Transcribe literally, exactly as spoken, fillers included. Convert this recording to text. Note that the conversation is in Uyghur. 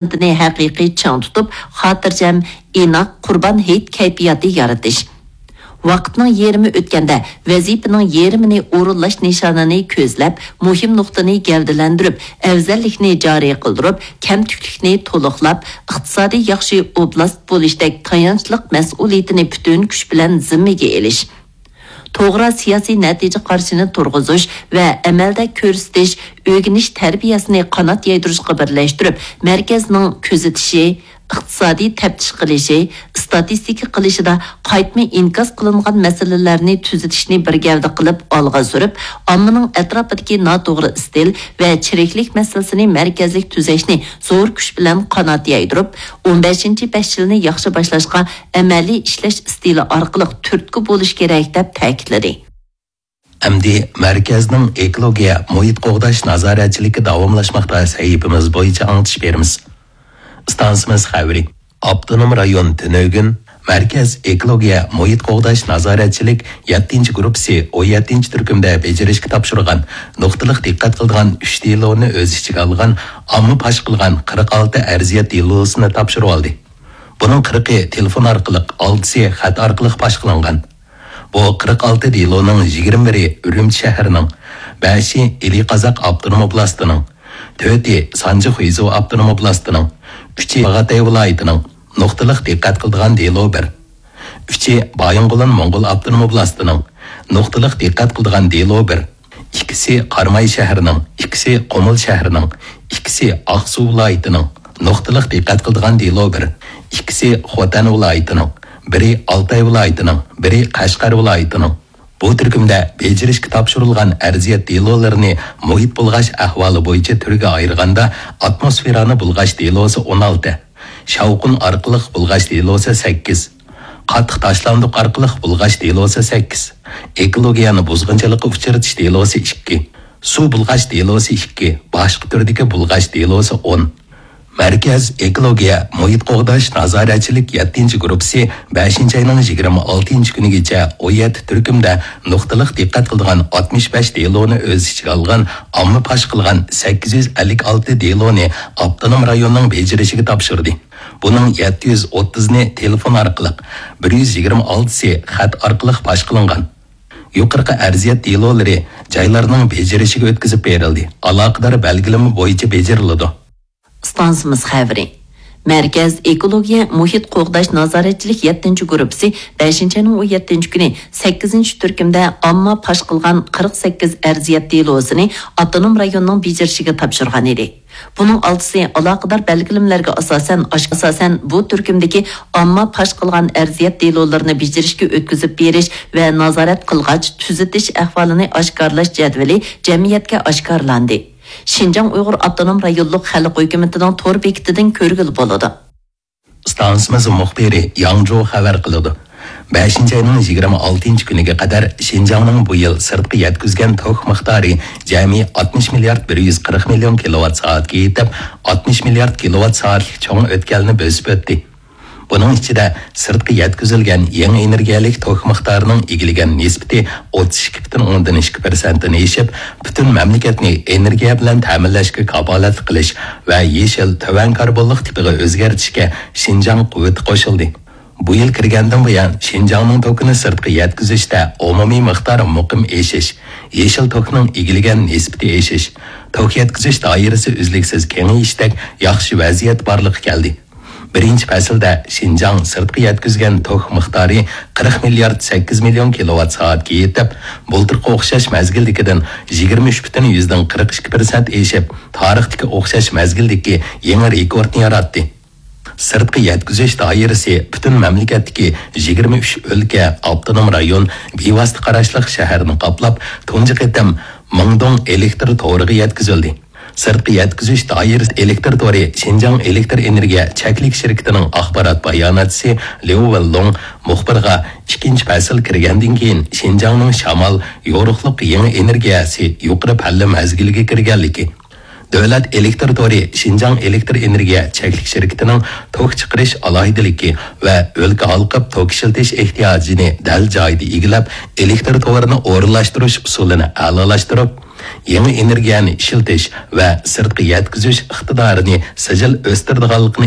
ئىنسانىيىتىنى ھەقىقىي چىڭ تۇتۇپ، خاتىرجەم، ئىناق، قۇربان ھېيت كەيپىياتى يارىتىش. ۋاقىتنىڭ يېرىمى ئۆتكەندە، ۋەزىپىنىڭ يېرىمىنى ئورۇنلاش نىشانىنى كۆزلەپ، مۇھىم نۇقتىنى گەۋدىلەندۈرۈپ، ئەۋزەللىكنى جارى قىلدۇرۇپ، كەمتۈكلۈكنى تولۇقلاپ، ئىقتىسادىي ياخشى ئوبلاست بولۇشتەك تايانچلىق مەسئۇلىيىتىنى پۈتۈن كۈچ بىلەن زىممىگە ئېلىش. توغرا سىياسىي نەتىجە قارىشىنى تۇرغۇزۇش ۋە ئەمەلدە كۆرسىتىش، ئۆگىنىش تەربىيەسىنى قانات يايدۇرۇشقا بىرلەشتۈرۈپ، مەركەزنىڭ كۆزىتىشى، ئىقتىسادىي تەپتىش قىلىشى، ئىستاتىستىكا قىلىشىدا قايتما ئىنكاس قىلىنغان مەسىلىلەرنى تۈزىتىشنى بىر گەۋدە قىلىپ ئالغا سۈرۈپ، ئاممىنىڭ ئەتراپىدىكى ناتوغرا ئىستىل ۋە چىرىكلىك مەسىلىسىنى مەركەزلىك تۈزەشنى زور كۈچ بىلەن قانات يايدۇرۇپ، ئون بەشىنچى بەش يىلنى ياخشى باشلاشقا ئەمەلىي ئىشلەش ئىستىلى ئارقىلىق تۈرتكە بولۇش كېرەك، دەپ تەكىتلىدى. ئەمدى مەركەزنىڭ ئېكولوگىيە مۇھىت قوغداش نازارەتچىلىكى داۋاملاشماقتا سەھىپىمىز بويىچە ئاڭلىتىش بېرىمىز. ئىستانسىمىز خەۋىرى. ئاپتونوم رايون تۈنۈگۈن مەركەز ئېكولوگىيە مۇھىت قوغداش نازارەتچىلىك يەتتىنچى گۇرۇپپىسى ئون يەتتىنچى تۈركۈمدە بېجىرىشكە تاپشۇرغان نۇقتىلىق دىققەت قىلىدىغان ئۈچ دېلونى ئۆز ئىچىگە ئالغان ئامما پاش قىلغان قىرىق ئالتە ئەرزىيەت دېلوسىنى تاپشۇرۇۋالدى. بۇنىڭ قىرىقى تېلېفون ئارقىلىق، ئالتىسى خەت ئارقىلىق پاش قىلىنغان. بۇ قىرىق ئالتە دېلونىڭ يىگىرمە بىرى ئۈرۈمچى شەھىرىنىڭ، بەشى ئىلى قازاق ئاپتونوم ئوبلاستىنىڭ، تۆتى سانجى خۇيزۇ ئاپتونوم ئوبلاستىنىڭ، ئۈچى چاغاتاي ۋىلايىتىنىڭ، نۇقتىلىق دىققەت قىلىدىغان دېلو بىر. ئۈچى بايىنغولىن موڭغۇل ئاپتونوم ئوبلاستىنىڭ، نۇقتىلىق دىققەت قىلىدىغان دېلو بىر. ئىككىسى قاراماي شەھىرىنىڭ، ئىككىسى قۇمۇل شەھىرىنىڭ، ئىككىسى ئاقسۇ ۋىلايىتىنىڭ، نۇقتىلىق دىققەت قىلىدىغان دېلو بىر. ئىككىسى خوتەن ۋىلايىتىنىڭ، بىرى ئالتاي ۋىلايىتىنىڭ، بىرى قەشقەر ۋىلايىتىنىڭ. بۇ تۈركۈمدە بېجىرىشكە تاپشۇرۇلغان ئەرزىيەت دېلولىرىنى مۇھىت بۇلغاش ئەھۋالى بويىچە تۈرگە ئايرىغاندا، ئاتموسفېرانى بۇلغاش دېلوسى ئون ئالتە، شاۋقۇن ئارقىلىق بۇلغاش دېلوسى سەككىز، قاتتىق تاشلاندۇق ئارقىلىق بۇلغاش دېلوسى سەككىز، ئېكولوگىيەنى بۇزغۇنچىلىققا ئۇچرىتىش دېلوسى ئىككى، سۇ بۇلغاش دېلوسى ئىككى، باشقا تۈردىكى بۇلغاش دېلوسى ئون. مەركەز ئېكولوگىيە مۇھىت قوغداش نازارەتچىلىك يەتتىنچى گۇرۇپپىسى بەشىنچى ئاينىڭ يىگىرمە ئالتىنچى كۈنىگىچە ئون يەتتە تۈركۈمدە نۇقتىلىق دىققەت قىلىدىغان ئاتمىش بەش دېلونى ئۆز ئىچىگە ئالغان ئامما پاش قىلغان سەككىز يۈز ئەللىك ئالتە دېلونى ئاپتونوم رايوننىڭ بېجىرىشىگە تاپشۇردى. بۇنىڭ يەتتە يۈز ئوتتۇزنى تېلېفون ئارقىلىق، بىر يۈز يىگىرمە ئالتىسى خەت ئارقىلىق پاش قىلىنغان. يۇقىرىقى ئەرزىيەت دېلولىرى جايلارنىڭ بېجىرىشىگە ئۆتكۈزۈپ بېرىلدى. ئالاقىدار بەلگىلىمە بويىچە بېجىرىلىدۇ. ئىستانسىمىز خەۋىرى. مەركەز ئېكولوگىيە مۇھىت قوغداش نازارەتچىلىك يەتتىنچى گۇرۇپپىسى بەشىنچى ئاينىڭ ئون يەتتىنچى كۈنى سەككىزىنچى تۈركۈمدە ئامما پاش قىلغان قىرىق سەككىز ئەرزىيەت دېلوسىنى ئاپتونوم رايوننىڭ بېجىرىشىگە تاپشۇرغان ئىدى. بۇنىڭ ئالتىسى ئالاقىدار بەلگىلىمىلەرگە ئاساسەن، ئاش-، ئاساسەن بۇ تۈركۈمدىكى ئامما پاش قىلغان ئەرزىيەت دېلولىرىنى بېجىرىشكە ئۆتكۈزۈپ بېرىش ۋە نازارەت قىلغاچ تۈزىتىش ئەھۋالىنى ئاشكارىلاش جەدۋىلى جەمئىيەتكە ئاشكارىلاندى. شىنجاڭ ئۇيغۇر ئاپتونوم رايونلۇق خەلق ھۆكۈمىتىنىڭ تور بېكىتىدىن كۆرگىلى بولىدۇ. ئىستانسىمىز مۇخبىرى ياڭجۇ خەۋەر قىلىدۇ. بەشىنچى ئاينىڭ يىگىرمە ئالتىنچى كۈنىگە قەدەر شىنجاڭنىڭ بۇ يىل سىرتقا يەتكۈزگەن توك مىقدارى جەمئىي ئاتمىش مىليارد بىر يۈز قىرىق مىليون كىلوۋات سائەتكە يېتىپ، ئاتمىش مىليارد كىلوۋات سائەتلىك چوڭ ئۆتكەلنى بۆسۈپ ئۆتتى. بۇنىڭ ئىچىدە سىرتقا يەتكۈزۈلگەن يېڭى ئېنېرگىيەلىك توك مىقدارىنىڭ ئىگىلىگەن نىسبىتى ئوتتۇز ئىككى پۈتۈن ئوندىن ئىككى پىرسەنتتىن ئېشىپ، پۈتۈن مەملىكەتنى ئېنېرگىيە بىلەن تەمىنلەشكە كاپالەتلىك قىلىش ۋە يېشىل، تۆۋەن كاربونلۇق تىپىغا ئۆزگەرتىشكە شىنجاڭ قۇۋۋىتى قوشۇلدى. بۇ يىل كىرگەندىن بۇيان، شىنجاڭنىڭ توكىنى سىرتقا يەتكۈزۈشتە ئومۇمىي مىقدار مۇقىم ئېشىش، يېشىل توكنىڭ ئىگىلىگەن نىسبىتى ئېشىش، توك يەتكۈزۈش دائىرىسى ئۈزلۈكسىز كېڭىيىشتەك ياخشى ۋەزىيەت بارلىققا كەلدى. بىرىنچى پەسىلدە شىنجاڭ سىرتقا يەتكۈزگەن توك مىقدارى قىرىق مىليارد سەككىز مىليون كىلوۋات سائەتكە يېتىپ، بۇلتۇرقى ئوخشاش مەزگىلدىكىدىن يىگىرمە ئۈچ پۈتۈن يۈزدىن قىرىق ئىككى پىرسەنت ئېشىپ، تارىختىكى ئوخشاش مەزگىلدىكى يېڭى رېكورتنى ياراتتى. سىرتقا يەتكۈزۈش دائىرىسى پۈتۈن مەملىكەتتىكى يىگىرمە ئۈچ ئۆلكە، ئاپتونوم رايون، بىۋاسىتە قاراشلىق شەھەرنى قاپلاپ، تۇنجى قېتىم مىڭدوڭ ئېلېكتر تورىغا يەتكۈزۈلدى. سىرتقا يەتكۈزۈش دائىرىسى ئېلېكتر تورى شىنجاڭ ئېلېكتر ئېنېرگىيە چەكلىك شىركىتىنىڭ ئاخبارات باياناتچىسى ليۇ ۋېنلۇڭ مۇخبىرغا ئىككىنچى پەسىل كىرگەندىن كېيىن شىنجاڭنىڭ شامال، يورۇقلۇق يېڭى ئېنېرگىيەسى يۇقىرى پەللە مەزگىلىگە كىرگەنلىكى، دۆلەت ئېلېكتر تورى شىنجاڭ ئېلېكتر ئېنېرگىيە چەكلىك شىركىتىنىڭ توك چىقىرىش ئالاھىدىلىكى ۋە ئۆلكە ھالقىپ توك ئىشلىتىش ئېھتىياجىنى دەل جايىدا ئىگىلەپ، ئېلېكتر تورىنى ئورۇنلاشتۇرۇش ئۇسۇلىنى ئەلالاشتۇرۇپ، يېڭى ئېنېرگىيەنى ئىشلىتىش ۋە سىرتقا يەتكۈزۈش ئىقتىدارىنى سىجىل ئۆستۈرىدىغانلىقىنى